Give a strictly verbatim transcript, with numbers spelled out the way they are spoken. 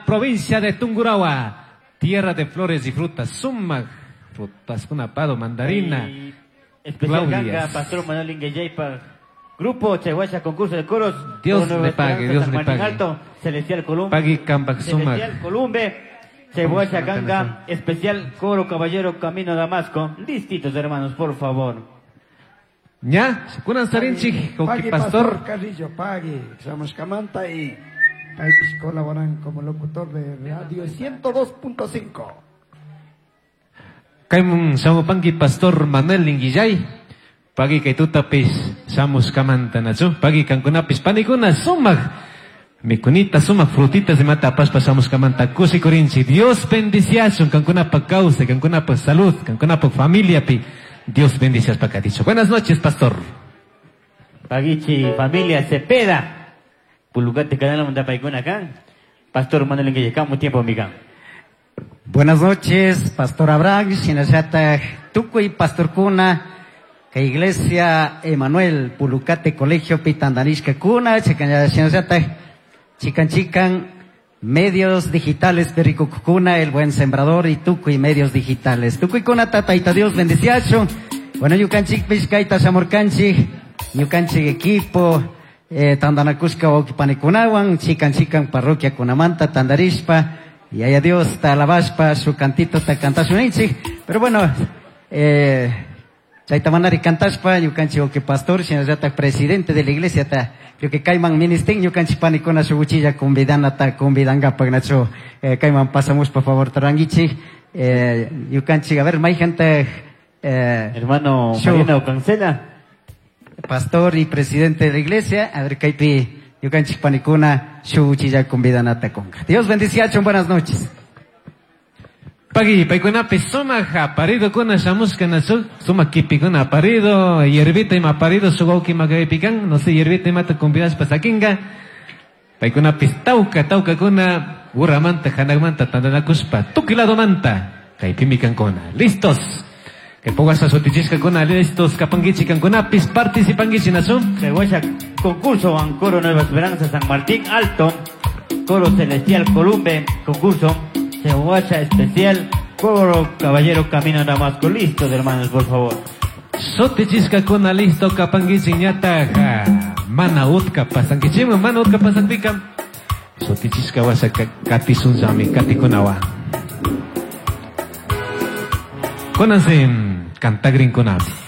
Provincia de Tungurahua, tierra de flores y frutas, suma frutas, pado, mandarina. Y especial Claudias. Ganga, Pastor Manuel Ingueyaypa, Grupo Chayhuacha, concurso de coros. Dios Coro Nueva le pague, Esperanza, Dios San le Martín pague. Alto, Celestial Columbe. Pagui Cambac Sumac. Celestial Columbe, Chayhuacha Ganga, especial Coro Caballero Camino Damasco. Listitos, hermanos, por favor. Ña, kunan sarinchik, Pagui Joqui Pastor. Carrillo, Pagui, somos Camanta y paypish colaboran como locutor de Radio ciento dos punto cinco. Kaymun shamupanki Pastor Manuel Linguillay. Pagui kay tutapis shamus kamanta nachu. Pagui kankunapis panikuna sumaq mikunita sumaq frutitas de mata apaspa shamus kamanta kusikurinchik. Dios bendiciachun kankunapa kawsay, kankunapa salud, kankunapa familiapi. Dios bendiciaspa katichu. Buenas noches, pastor. Paguichi, familia Cepeda. Pulucate, canal Montapaicuna acá. Pastor Manuel Inguillay, un tiempo, amiga. Buenas noches, Pastor Abraham, Shinashata, Tucuy, Pastor Cuna, que Iglesia Emanuel, Pulucate, Colegio Pitandanishka Cuna, Chican, Shinashata, Chican Chican, Medios Digitales, Pericucuna, El Buen Sembrador y Tucuy, Medios Digitales. Tucuy Cuna, Tata, Ita Dios, bendiciacho. Bueno, Yucanchic, Pishkaita, Shamurcanchi, Yucanchic equipo, eh, Tandanacushka, Okipanikunawan, Chican Chican, Parroquia Cunamanta, Tandarishpa, y allá Dios, talabashpa, su cantito, ta cantashunichik. Pero bueno, eh, chaytamanari cantashpa, ñukanchik oki pastor, shinallata presidente de la iglesia, ta, creo que kayman ministin, ñukanchik panikuna shuguchilla convidana, ta, convidangapak, nacho, eh, kayman pasamos, por favor, taranguichik, eh, ñukanchik, a ver, mayjanta, eh, Hermano shu Mariano Cancela. Pastor y presidente de la iglesia, a ver, kaypi, ñukanchik panikuna, shuguchilla convidanata conga. Dios bendiciachon, buenas noches. Pagui, paykunapi sumaq aparido kuna shamushka nachu, sumaq kipikuna aparido, hierbita ima aparido, shuwawki makaypikan, no sé, hierbita imata convidashpa sakinga. Paykunapis tawka, tawkakuna, urramanta, hanaqmanta, tantanakushpa, tukuy ladomanta, kaypimi kankuna. Listos. Que pogasa sutichishkakuna, listos, kapankichik kankunapis, participankichik nachu. Cebolla, concurso Coro Nueva Esperanza, San Martín Alto, Coro Celestial Columbe, concurso Cebolla Especial, Coro Caballero Camino Damasco. Listos, hermanos, por favor. Sutichishkakuna, listo, kapankichik ñataja. Mana utka pasankichiman, mana utka pasakpika. Sutichishka washa katisunllami, katikunawa. Kunansi cantagrinkunami.